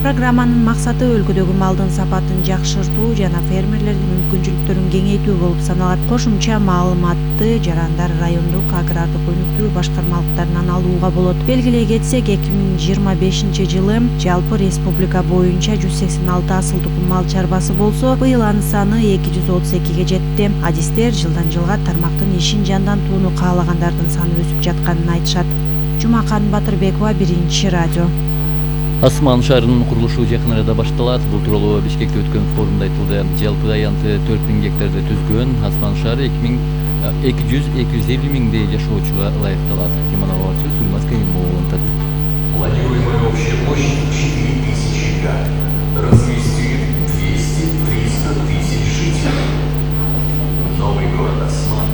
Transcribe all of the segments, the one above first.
Программанын максаты өлкөдөгү малдын сапатын жакшыртуу жана фермерлердин мүмкүнчүлүктөрүн кеңейтүү болуп саналат. Кошумча маалыматты жарандар райондук агрардык өнүктүрүү башкармалыктарынан алууга болот. Белгилей кетсек, 2025-жылы жалпы республика боюнча 186 асыл тукум мал чарбасы болсо, быйыл анын саны 232-ге жетти. Адистер жылдан жылга тармактын ишин жандантууну каалагандардын саны өсүп жатканын айтышат. Жумакан Батырбекова, Биринчи радио. Асман шаарынын курулушу жакын арада башталат. Бул тууралуу Бишкекте өткөн форумда айтылды. Жалпы аянты 4000 гектарды түзгөн Асман шаары 200-250 миңдей жашоочуга ылайыкталат. Кеманова Сулмас Каймовунтат. Планируемая общая площадь 4000 га. Разместит 200-300 тысяч жителей. Новый город Асман.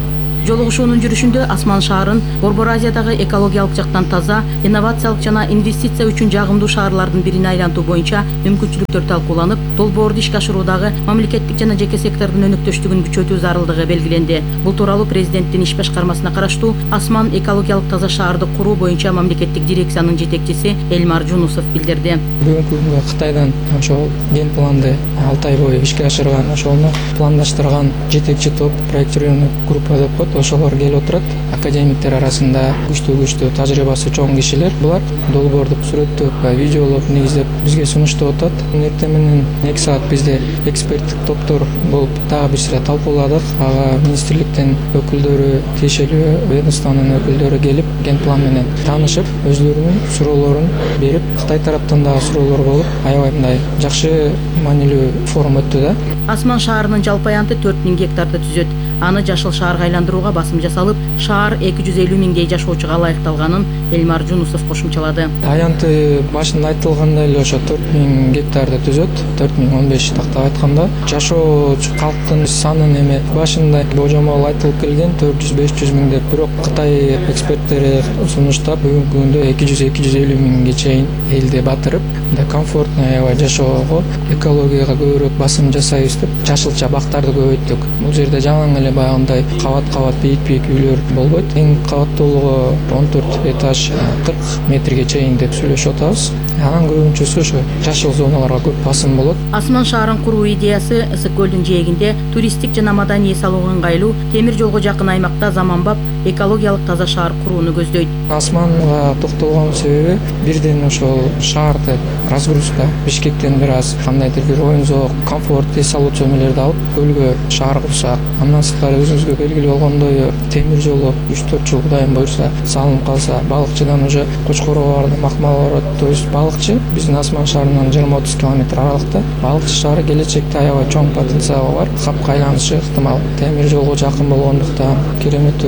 Жолугушуунун жүрүшүндө Асман шаарын Борбор Азиядагы экологиялык жактан таза, инновациялык жана инвестиция үчүн жагымдуу шаарлардын бирине айлантуу боюнча мүмкүнчүлүктөр талкууланып, долбоорду ишке ашыруудагы мамлекеттик жана жеке сектордун өнөктөштүгүн күчөтүү зарылдыгы белгиленди. Бул тууралуу президенттин иш башкармасына караштуу Асман экологиялык таза шаарды куруу боюнча мамлекеттик дирекциянын жетекчиси Элмар Жунусов билдирди. Бүгүнкү күндө Кытайдан ошол ген планды 6 ай бою ишке ашырган, ошону пландаштырган жетекчи топ, проектированный группа деп коет. Ошолор келип отурат. Академиктер арасында күчтүү тажрыйбасы чоң кишилер. Булар долбоорду сүрөттөп, видеолоп негиздеп бизге сунуштап атат. Эртең менен 2 саат бизде эксперттик топтор болуп дагы бир сыра талкууладык. Ага министрликтен өкүлдөрү, тиешелүү ведомствонун өкүлдөрү келип, ген план менен таанышып, өзлөрүнүн суроолорун берип, Кытай тараптан дагы суроолор болуп, аябай мындай жакшы маанилүү форум өттү да. Асман шаарынын жалпы аянты 4000 гектарды түзөт. Аны жашыл шаарга айландырууга басым жасалып, шаар 250 миңдей жашоочуга ылайыкталганын Элмар Жунусов кошумчалады. Аянты башында айтылгандай эле ошо 4000 гектарды түзөт. 4015 тактап айтканда, жашоочу калктын санын эме башында божомол айтылып келген 400-500 миң деп, бирок Кытай эксперттери сунуштап бүгүнкү күндө 200-250 миңге чейин элди батырып, комфортный аябай жашоого, экологияга көбүрөөк басым жасайбыз деп, жашылча бактарды көбөйттүк. Бул жерде жалаң эле баягындай кабат бийик үйлөр болбойт. Эң кабаттуулугу 14 этаж 40 метрге чейин деп сүйлөшүп атабыз. Анын көбүнчөсү ошо жашыл зоналарга көп басым болот. Асман шаарын куруу идеясы Ысык көлдүн жээгинде туристтик жана маданий эс алууга ыңгайлуу, темир жолго жакын аймакта заманбап экологиялык таза шаар курууну көздөйт. Асманга токтолгон себеби бирден ошол шаарды разгрузка Бишкектен бир аз кандайдыр бир оюн-зоок, комфорт эс алуучу эмелерди алып көлгө шаар курсак, андан сырткары өзүңүзгө белгилүү болгондой темир жолу 3-4 жыл кудайым буйрса салынып калса, балыкчыдан уже Кочкорого барды макмал барат. То есть балыкчы биздин Асман шаарынан 20-30 километр аралыкта. Балыкчы шаары келечекте аябай чоң потенциалы бар. Капка айланышы ыктымал. Темир жолго жакын болгондуктан керемет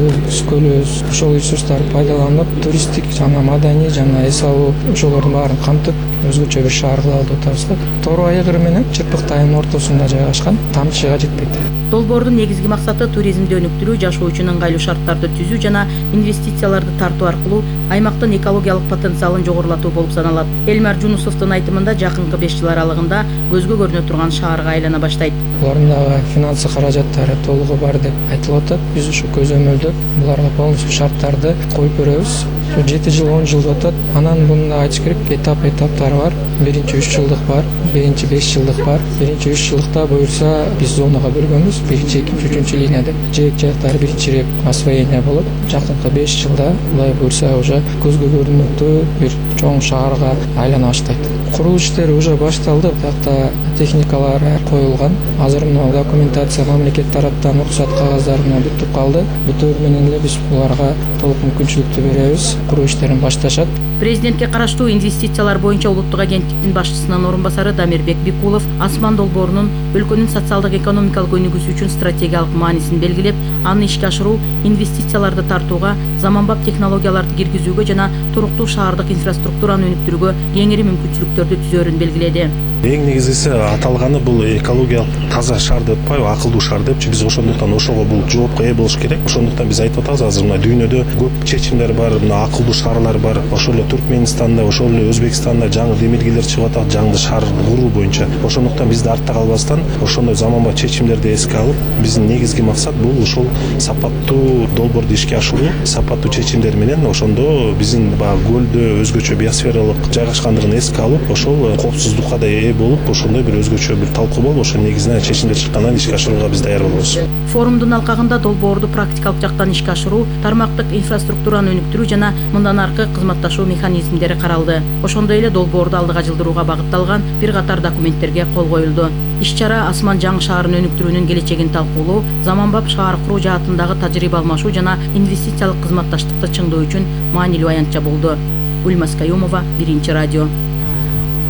көлүбүз ошол ресурстарды пайдаланып, туристтик жана маданий жана эс алуу ошолордун баарын камтып, өзгөчө бир шаар кылалы деп атабыз да. Тору айгыр менен Чырпык тайынын ортосунда жайгашкан, тамчыга жетпейт. Долбоордун негизги максаты туризмди өнүктүрүү, жашоо үчүн ыңгайлуу шарттарды түзүү жана инвестицияларды тартуу аркылуу аймактын экологиялык потенциалын жогорулатуу болуп саналат. Элмар Жунусовдун айтымында жакынкы 5 жыл аралыгында көзгө көрүнө турган шаарга айлана баштайт. Булардын дагы финансы каражаттары толугу бар деп айтылып атат. Биз ушу көзөмөлдөп, буларга полностью шарттарды коюп беребиз. 7 жыл 10 жыл атат. Анан мында айтыш керек, этаптары бар. Биринчи 3 жылдык бар, биринчи 5 жылдык бар. Биринчи 3 жылдыкта буюрса биз зонага бөлгөнбүз. Биринчи, экинчи, үчүнчү линия деп. Жайыктары биринчи рет освоение болот. Жакынкы 5 жылда булай буюрса уже көзгө көрүнүктүү бир чоң шаарга айлана баштайт. Куруу иштери уже башталды. Бuyakta техникалар коюлган. Азыр мына документация мамлекет тараптан уруксат кагаздарына бүтүп калды. Бүтөр менен эле биз буларга толук мүмкүнчүлүктү беребиз. Куруу иштерин башташат. Президентке караштуу инвестициялар боюнча улуттук агенттиктин башчысынын орун басары Дамирбек Бекулов Асман долбоорунун өлкөнүн социалдык экономикалык өнүгүүсү үчүн стратегиялык маанисин белгилеп, аны ишке ашыруу инвестицияларды тартууга, заманбап технологияларды киргизүүгө жана туруктуу шаардык инфраструктураны өнүктүрүүгө кеңири мүмкүнчүлүктөрдү түзөрүн белгиледи. Эң негизгиси аталганы бул экологиялык таза шаар деп атпайбы, акылдуу шаар депчи. Биз ошондуктан ошого бул жоопко ээ болуш керек. Ошондуктан биз айтып атабыз, азыр мына дүйнөдө көп чечимдер бар, мына акылдуу шаарлар бар. Ошол эле Түркменстанда, ошол эле Өзбекстанда жаңы демилгелер чыгып атат, жаңы шаар куруу боюнча. Ошондуктан биз да артта калбастан ошондой заманбап чечимдерди эске алып, биздин негизги максат бул ушул сапаттуу долбоорду ишке ашыруу, сапаттуу сапаттуу чечимдер менен ошондо биздин баягы көлдө өзгөчө биосфералык жайгашкандыгын эске алып ошол коопсуздукка да ээ болуп ошондой бир өзгөчө бир талкуу болуп ошонун негизинен чечимдер чыккандан ишке ашырууга биз даяр болобуз. Форумдун алкагында долбоорду практикалык жактан ишке ашыруу, тармактык инфраструктураны өнүктүрүү жана мындан аркы кызматташуу механизмдери каралды. Ошондой эле долбоорду алдыга жылдырууга багытталган бир катар документтерге кол коюлду. Иш-чара Асман жаңы шаарын өнүктүрүүнүн келечегин талкуулоо, заманбап шаар куруу жаатындагы тажрыйба алмашуу жана инвестициялык кызматташтыкты чыңдоо үчүн маанилүү аянтча болду. Ульмас Каюмова, Биринчи радио.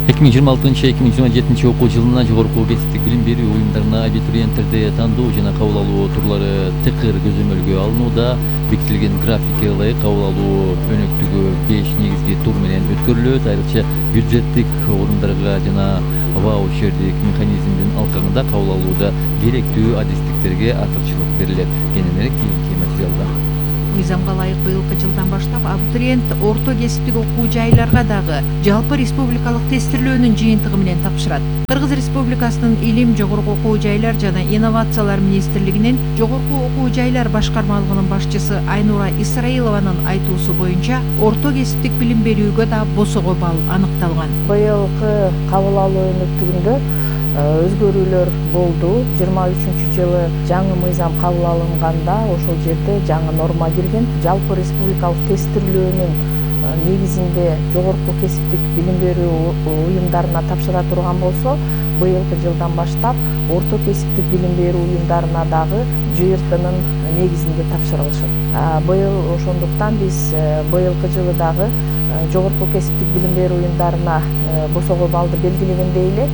2026-2027 окуу жылына жогорку кесиптик билим берүү уюмдарына абитуриенттерди тандоо жана кабыл алуу турлары тыкыр көзөмөлгө алынууда. Бекитилген графикке ылайык кабыл алуу өнөктүгү 5 негизги тур менен өткөрүлөт. Айрыкча бюджеттик орундарга жана ваучердик механизмдин алкагында кабыл алууда керектүү адистиктерге артыкчылык берилет. Кененирээк кийинки материалда. Мыйзамга ылайык быйылкы жылдан баштап абитуриент орто кесиптик окуу жайларга дагы жалпы республикалык тестирлөөнүн жыйынтыгы менен тапшырат. Кыргыз Республикасынын Илим, жогорку окуу жайлар жана инновациялар министрлигинин жогорку окуу жайлар башкармалыгынын башчысы Айнура Исраилованын айтуусу боюнча орто кесиптик билим берүүгө да босого балл аныкталган. Быйылкы кабыл алуу өнөктүгүндө өзгөрүүлөр болду. 23-жылы жаңы мыйзам кабыл алынганда ошол жерде жаңы норма кирген. Жалпы республикалык тестирлөөнүн негизинде жогорку кесиптик билим берүү уюмдарына тапшыра турган болсо, быйылкы жылдан баштап орто кесиптик билим берүү уюмдарына дагы ЖРТнын негизинде тапшырылышат. Быйыл ошондуктан биз быйылкы жылы дагы жогорку кесиптик билим берүү уюмдарына босого баллды белгилегендей эле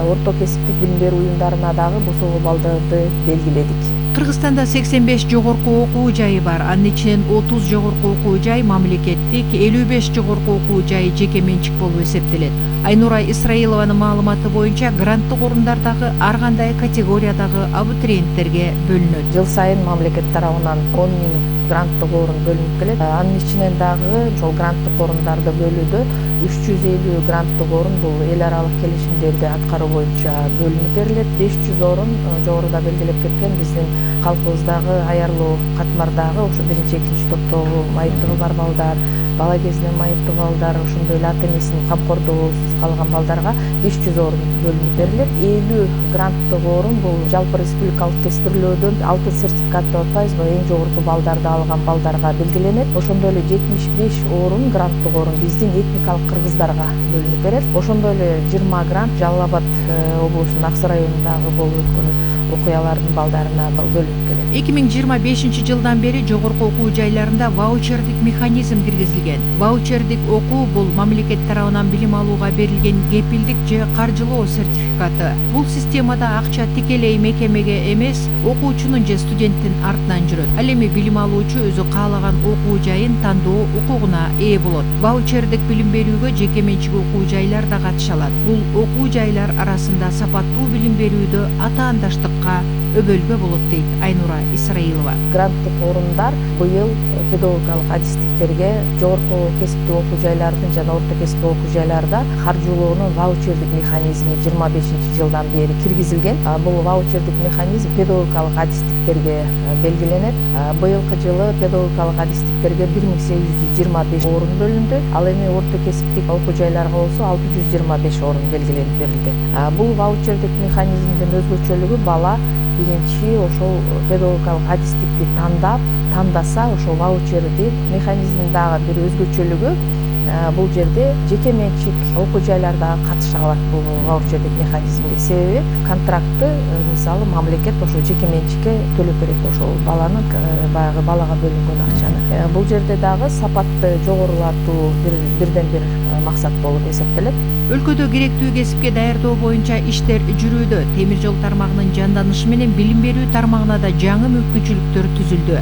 орто кесиптик билим берүү уюмдарына дагы босого балдарды белгиледик. Кыргызстанда 85 жогорку окуу жайы бар. Анын ичинен 30 жогорку окуу жай мамлекеттик, 55 жогорку окуу жай жеке менчик болуп эсептелет. Айнура Исраилованын маалыматы боюнча гранттык орундар дагы ар кандай категориядагы абитуриенттерге бөлүнөт. Жыл сайын мамлекет тарабынан 10 000 гранттык орун бөлүнүп келет. Анын ичинен дагы ошол гранттык орундарды бөлүүдө 350 гранттык орун бул эл аралык келишимдерди аткаруу боюнча бөлүнүп берилет. 500 орун жогоруда белгилеп кеткен биздин калкыбыздагы аярлуу катмардагы ошо 1-2 топтогу майыптыгы бар балдар, бала кезинен майыптуу балдар, ошондой эле ата энесинин камкордугусуз калган балдарга 500 орун бөлүнүп берилет. 50 гранттык орун бул жалпы республикалык тестирлөөдөн алтын сертификат деп атпайбызбы, эң жогорку балдарды алган балдарга белгиленет. Ошондой эле 75 орун гранттык орун биздин этникалык кыргыздарга бөлүнүп берет. Ошондой эле 20 грант Жалал Абад облусунун Аксы районундагы болуп өткөн окуялардын балдарына бөлүнүп келет. 2025 жылдан бери жогорку окуу жайларында ваучердик механизм киргизилген. Ваучердик окуу бул мамлекет тарабынан билим алууга берилген кепилдик же каржылоо сертификаты. Бул системада акча тикелей мекемеге эмес, окуучунун же студенттин артынан жүрөт. Ал эми билим алуучу өзү каалаган окуу жайын тандоо укугуна ээ болот. Ваучердик билим берүүгө жеке менчик окуу жайлар да катыша алат. Бул окуу жайлар арасында сапаттуу билим берүүдө атаандаштыкка өбөлгө болот дейт Айнура Исраилова. Гранттык орундар быйыл педагогикалык адистиктерге жогорку кесиптик окуу жайлардын жана орто кесиптик окуу жайларда каржылоонун ваучердик механизми 25-жылдан бери киргизилген. Бул ваучердик механизм педагогикалык адистиктерге белгиленет. Быйылкы жылы педагогикалык адистиктерге 1825 орун бөлүндү. Ал эми орто кесиптик окуу жайларга болсо 625 орун белгиленип берилди. Бул ваучердик механизмдин өзгөчөлүгү бала биринчи ошол педагогикалык адистикти тандаса ошол ваучерди механизмдагы бир өзгөчөлүгү бул жерде жеке менчик окуу жайлар дагы катыша алат бул ваучердик механизмге. Себеби контрактты мисалы мамлекет ошо жеке менчикке төлөп берет ошол баланын баягы балага бөлүнгөн акчаны. Бул жерде дагы сапатты жогорулатуу бирден бир максат болуп эсептелет. Өлкөдө керектүү кесипке даярдоо боюнча иштер жүрүүдө. Темир жол тармагынын жанданышы менен билим берүү тармагына да жаңы мүмкүнчүлүктөр түзүлдү.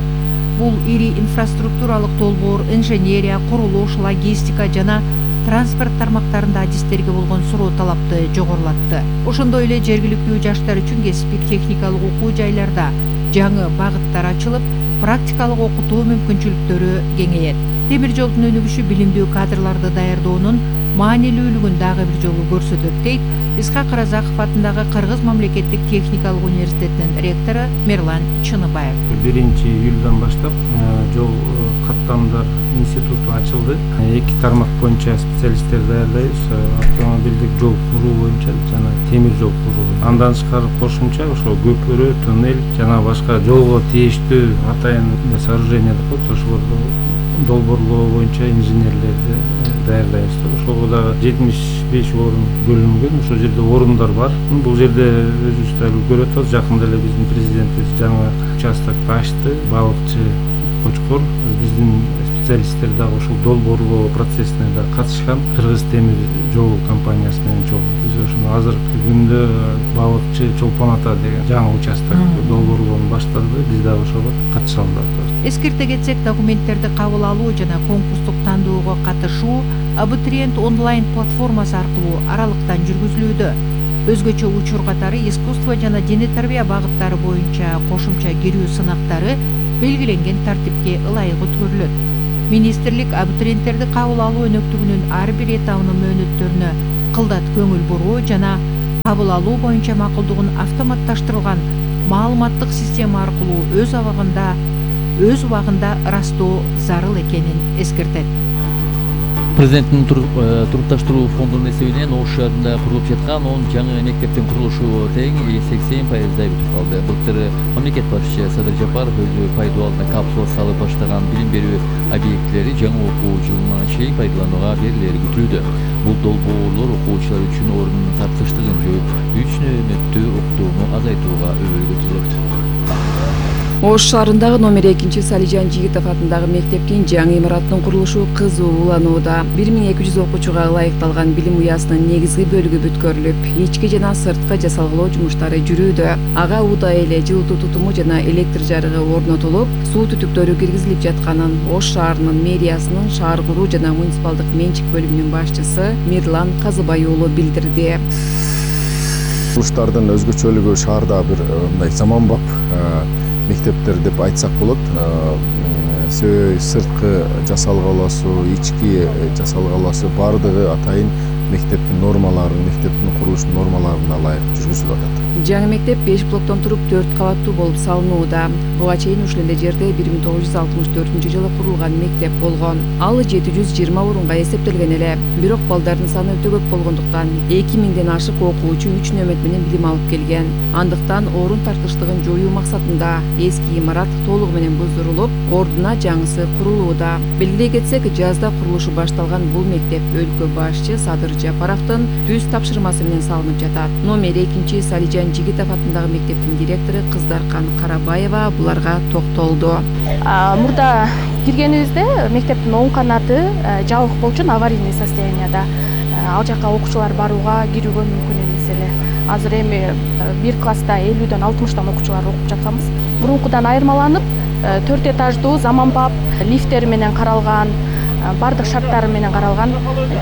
Бул ири инфраструктуралык долбоор, инженерия, курулуш, логистика жана транспорт тармактарында адистерге болгон суроо талапты жогорулатты. Ошондой эле жергиликтүү жаштар үчүн кесиптик техникалык окуу жайларда жаңы багыттар ачылып, практикалык окутуу мүмкүнчүлүктөрү кеңейет. Темир жолдун өнүгүшү билимдүү кадрларды даярдоонун маанилүүлүгүн дагы бир жолу көрсөтөт дейт Исхак Разаков атындагы Кыргыз мамлекеттик техникалык университетинин ректору Мерлан Чыныбаев. 1-июлдан баштап жол каттамдар институту ачылды. 2 тармак боюнча специалисттер даярдайбыз. Автомобилдик жол куруу боюнча жана темир жол куруу. Андан тышкары кошумча ошо көпүрө, туннель жана башка жолго тийиштүү атайын сооружение деп коет. Ошолорду долбоорлоо боюнча инженерлерди даярдайбыз. Ошого дагы 75 орун бөлүнгөн. Ошол жерде орундар бар. Бул жерде өзүбүз да көрүп атабыз. Жакында эле биздин президентибиз жаңы участокду ачты. Балыкчы Кочкор биздин специалисттер дагы ошол долбоорлоо процессине да катышкан. Кыргыз темир жол компаниясы менен чогуу. Биз ошону азыркы күндө Балыкчы Чолпон ата деген жаңы участок долбоорлоону баштады. Биз дагы ошого катыша алабыз. Эскерте кетсек, документтерди кабыл алуу жана конкурстук тандоого катышуу абитуриент онлайн платформасы аркылуу аралыктан жүргүзүлүүдө. Өзгөчө учур катары искусство жана дене тарбия багыттары боюнча кошумча кирүү сынактары белгиленген тартипке ылайык өткөрүлөт. Министрлик абитуриенттерди кабыл алуу өнөктүгүнүн ар бир этабынын мөөнөттөрүнө кылдат көңүл буруу жана кабыл алуу боюнча макулдугун автоматташтырылган маалыматтык система аркылуу өз убагында ырастоо зарыл экенин эскертет. Президенттин турукташтыруу фондунун эсебинен Ош шаарында курулуп жаткан 10 жаңы мектептин курулушу тең 80% бүтүп калды. Былтыр мамлекет башчысы Садыр Жапаров өзү пайдаланууга капсула салып баштаган билим берүү объектилери жаңы окуу жылына чейин пайдаланууга берилери күтүлүүдө. Бул долбоорлор окуучулар үчүн орун тартыштыгын жоюп, 3 нөөмөттүү окутууну азайтууга өбөлгө түзөт. Ош шаарындагы номер 2 Салижан Жигитов атындагы мектептин жаңы имараттын курулушу кызуу уланууда. 1200 окуучуга ылайыкталган билим уясынын негизги бөлүгү бүткөрүлүп, ички жана сырткы жасалгылоо жумуштары жүрүүдө. Ага удай эле жылытуу тутуму жана электр жарыгы орнотулуп, суу түтүктөрү киргизилип жатканын Ош шаарынын мэриясынын шаар куруу жана муниципалдык менчик бөлүмүнүн башчысы Мирлан Казыбай уулу билдирди. Курулуштардын өзгөчөлүгү шаарда бир мындай заманбап мектептер деп айтсак болот. Сырткы жасалгалоосу, ички жасалгалоосу баардыгы атайын мектептин нормаларын, мектептин курулуш нормаларына ылайык жүргүзүлүп атат. Жаңы мектеп 5 блоктон туруп 4 кабаттуу болуп салынууда. Буга чейин ушул эле жерде 1964-жылы курулган мектеп болгон. Ал 720 орунга эсептелген эле. Бирок балдардын саны өтө көп болгондуктан 2000ден ашык окуучу 3 нөөмөт менен билим алып келген. Андыктан орун тартыштыгын жоюу максатында эски имарат толугу менен буздурулуп, ордуна жаңысы курулууда. Белгилей кетсек, жазда курулушу башталган бул мектеп өлкө башчы Садыр Жапаровдун түз тапшырмасы менен салынып жатат. Номер 2 Салижан Жигитов атындагы мектептин директору Кыздаркан Карабаева буларга токтолду. Мурда киргенибизде мектептин оң канаты жабык болчу, аварийный состоянияда. Ал жака окуучулар барууга, кирүүгө мүмкүн эмес эле. Азыр эми бир класста 50ден 60 окуучулар окуп жатканбыз. Мурункудан айырмаланып, 4 этаждуу заманбап лифттери менен каралган, бардык шарттары менен каралган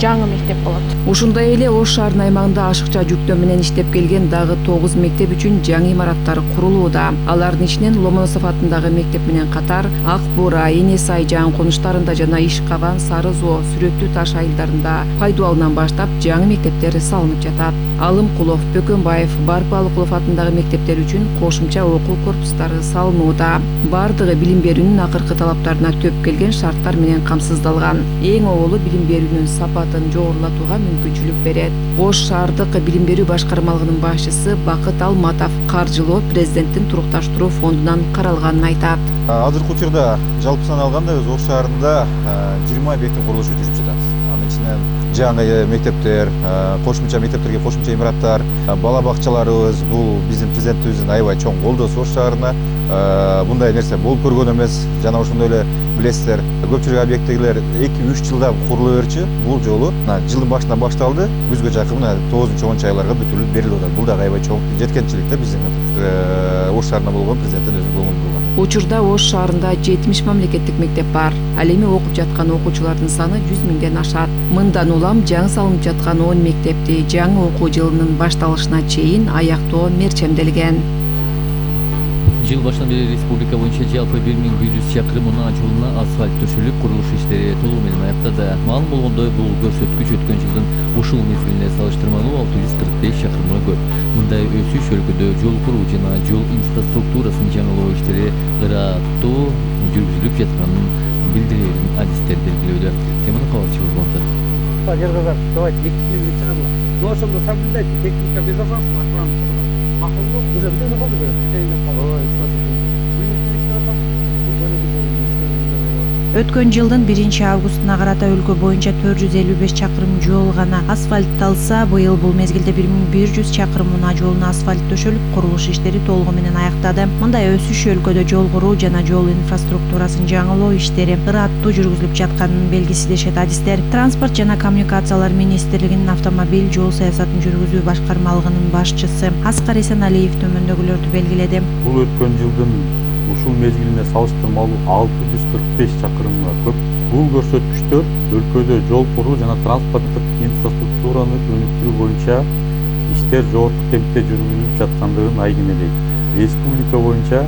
жаңы мектеп болот. Ушундай эле Ош шаарынын аймагында ашыкча жүктөө менен иштеп келген дагы 9 мектеп үчүн жаңы имараттар курулууда. Алардын ичинен Ломоносов атындагы мектеп менен катар Ак Буура, Эне Сай жаңы конуштарында жана Ишкабан, Сары Зоо, Сүрөттүү Таш айылдарында пайдубалынан баштап жаңы мектептер салынып жатат. Алымкулов, Бөкөнбаев, Барпалыкулов атындагы мектептер үчүн кошумча окуу корпустары салынууда. Бардыгы билим берүүнүн акыркы талаптарына төп келген шарттар менен камсыздалган. Эң оолу билим берүүнүн сапатын жогорулатууга мүмкүнчүлүк берет. Ош шаардык билим берүү башкармалыгынын башчысы Бакыт Алматов каржылоо президенттин турукташтыруу фондунан каралганын айтат. Азыркы учурда жалпы сан алганда өз Ош шаарында 20 объекттин курулушу жүрүп жатат. Анын ичинен жаңы мектептер, кошумча мектептерге кошумча имараттар, бала бакчаларыбыз бул биздин президентибиздин аябай чоң колдоосу Ош шаарына. Мындай нерсе болуп көргөн эмес. Жана ошондой эле билесиздер, көпчүлүк объекттегилер 2-3 жылда курулуп берчү. Бул жолу жылдын башынан башталды, күзгө жакын 9-10 айларга бүтүрүлүп берилип атат. Бул дагы аябай чоң жеткенчилик да биздин Ош шаарында болгон президенттин өзүнүн көңүл бурган. Учурда Ош шаарында 70 мамлекеттик мектеп бар. Ал эми окуп жаткан окуучулардын саны 100 миңден ашат. Мындан улам жаңы салынып жаткан 10 мектепти жаңы окуу жылынын башталышына чейин аяктоо мерчемделген. Жыл башынан бери республика боюнча жалпы 1100 чакырым унаа жолуна асфальт төшөлүп, курулуш иштери толугу менен аяктады. Маалым болгондой, бул көрсөткүч өткөн жылдын ушул мезгилине салыштырмалуу 645 чакырымга көп. Мындай өсүш өлкөдө жол куруу жана жол инфраструктурасын жаңылоо иштери ыраттуу жүргүзүлүп жатканын билдирерин адистер белгилөөдө. Теманы кабарчыбыз Монтат. Давайте но ошондо соблюдайте техника безопасности, охрана макулдук уже бир болду. Өткөн жылдын 1-августуна карата өлкө боюнча 455 чакырым жол гана асфальтталса, быйыл бул мезгилде 1100 чакырым унаа жолуна асфальт төшөлүп, курулуш иштери толугу менен аяктады. Мындай өсүш өлкөдө жол куруу жана жол инфраструктурасын жаңылоо иштери ыраттуу жүргүзүлүп жатканын белгиси дешет адистер. Транспорт жана коммуникациялар министрлигинин автомобиль жол саясатын жүргүзүү башкармалыгынын башчысы Аскар Эсеналиев төмөндөгүлөрдү белгиледи. Бул өткөн жылдын ушул мезгилине салыштырмалуу 645 чакырымга көп. Бул көрсөткүчтөр өлкөдө жол куруу жана транспорттук инфраструктураны өнүктүрүү боюнча иштер жогорку темпте жүргүзүлүп жаткандыгын айкын элейт. Республика боюнча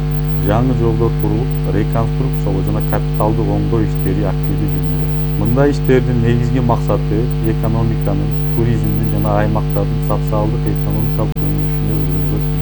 жаңы жолдор курулуп, реконструкциялоо жана капиталдык оңдоо иштери активдүү жүрүлүүдө. Мындай иштердин негизги максаты экономиканын, туризмдин жана аймактардын социалдык экономикалык өнүгүшүнө өзгөртүү.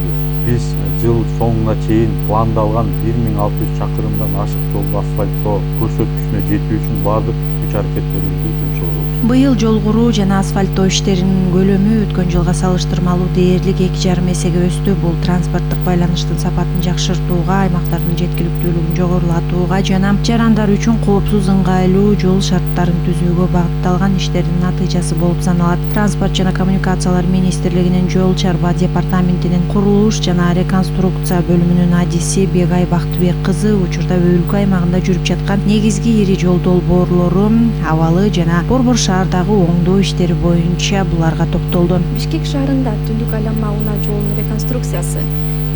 Биз жыл соңуна чейин пландалган 1600 чакырымдан ашык жолду асфальттоо көрсөткүчүнө жетүү үчүн бардык күч-аракеттерибизди жумшообуз. Быйыл жол куруу жана асфальттоо иштеринин көлөмү өткөн жылга салыштырмалуу дээрлик 2,5 эсеге өстү. Бул транспорттук байланыштын сапатын жакшыртууга, аймактардын жеткиликтүүлүгүн жогорулатууга жана жарандар үчүн коопсуз, ыңгайлуу жол шарттарын түзүүгө багытталган иштердин натыйжасы болуп саналат. Транспорт жана коммуникациялар министрлигинин жол чарба департаментинин курулуш жана реконструкция бөлүмүнүн адиси Бегай Бактыбек кызы учурда өлкө аймагында жүрүп жаткан негизги ири жол долбоорлору, абалы жана Борбор шаардагы оңдоо иштери боюнча буларга токтолду. Бишкек шаарында түндүк айланма унаа жолунун реконструкциясы,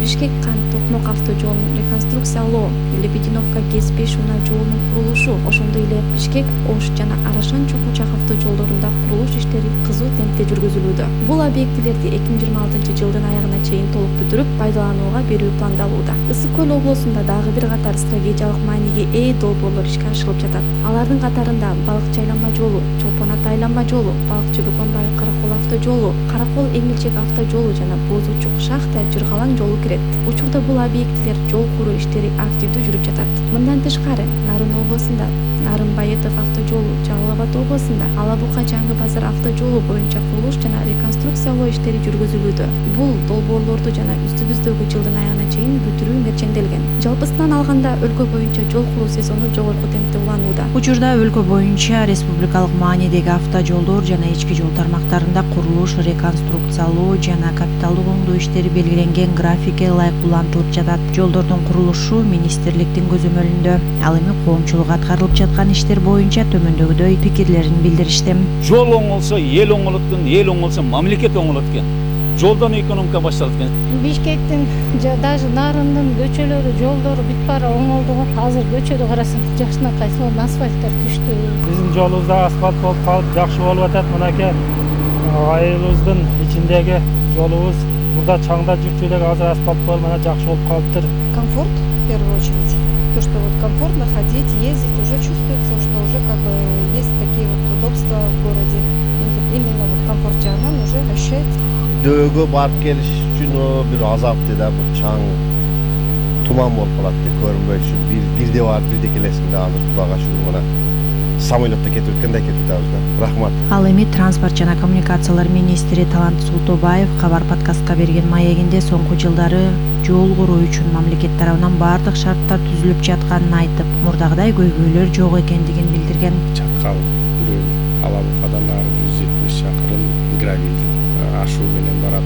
Бишкек-Кант Токмок автожолунун реконструкциялоо, Лебединовка Кез-5 унаа жолунун курулушу, ошондой эле Бишкек-Ош жана Арашан-Чокучак автожолдорунда курулуш иштери кызуу темпте жүргүзүлүүдө. Бул объектилерди 2026 жылдын аягына чейин толук бүтүрүп, пайдаланууга берүү пландалууда. Ысык көл облусунда дагы бир катар стратегиялык мааниге ээ долбоорлор ишке ашырылып жатат. Алардын катарында Балыкчы айланма жолу, Чолпон Ата айланма жолу, Балыкчы Бөкөнбаев Каракол автожолу, Каракол Эңилчек автожолу жана Боз Учук Шахта Жыргалаң жолу кирет. Учурда бул объектилер жол куруу иштери активдүү жүрүп жатат. Мындан тышкары, Нарын облусунда Нарын Баетов автожолу, Жалал Абад облусунда Ала Бука Жаңы Базар автожолу боюнча курулуш жана реконструкциялоо иштери жүргүзүлүүдө. Бул долбоорлорду жана үстүбүздөгү жылдын аягына чейин бүтүрүү мерченделген. Жалпысынан алганда өлкө боюнча жол куруу сезону жогорку темпте уланууда. Учурда өлкө боюнча республикалык маанидеги автожолдор жана ички жол тармактарында курулуш, реконструкциялоо жана капиталдык оңдоо иштери белгиленген графикке ылайык улантылып жатат. Жолдордун курулушу министрликтин көзөмөлүндө. Ал эми коомчулук аткарылып жаткан иштер боюнча төмөндөгүдөй пикирлерин билдиришти. Жол оңолсо эл оңолот экен, эл оңолсо мамлекет оңолот экен. Жолдон экономика башталат экен. Бишкектин даже Нарындын көчөлөрү, жолдору бүт баары оңолду го. Азыр көчөдө карасаң жакшынакай сонун асфальттар түштү. Биздин жолубузда асфальт болуп калып, жакшы болуп атат. Мынакей айылыбыздын ичиндеги жолубуз мурда чаңда жүрчү элек, азыр асфальт болуп мына жакшы болуп калыптыр. Комфорт в первую очередь. То, что вот комфортно ходить, ездить, уже чувствуется, что уже как бы есть такие вот удобства в городе. Именно вот комфорт жағынан уже ощущается. Дөөгө барып келиш үчүн бир азапты да, бул чаң туман болуп калат деп көрүнбөйт үчүн бирде барып бирде келесиң да, азыр Кудайга шүгүр мына самолетто кетип өткөндөй кетип атабыз да. Рахмат. Ал эми транспорт жана коммуникациялар министри Талант Султобаев Кабар подкастка берген маегинде соңку жылдары жол куруу үчүн мамлекет тарабынан бардык шарттар түзүлүп жатканын айтып, мурдагыдай көйгөйлөр жок экендигин билдирген. Чаткал Ала Букадан ары 170 чакырым гравий ашуу менен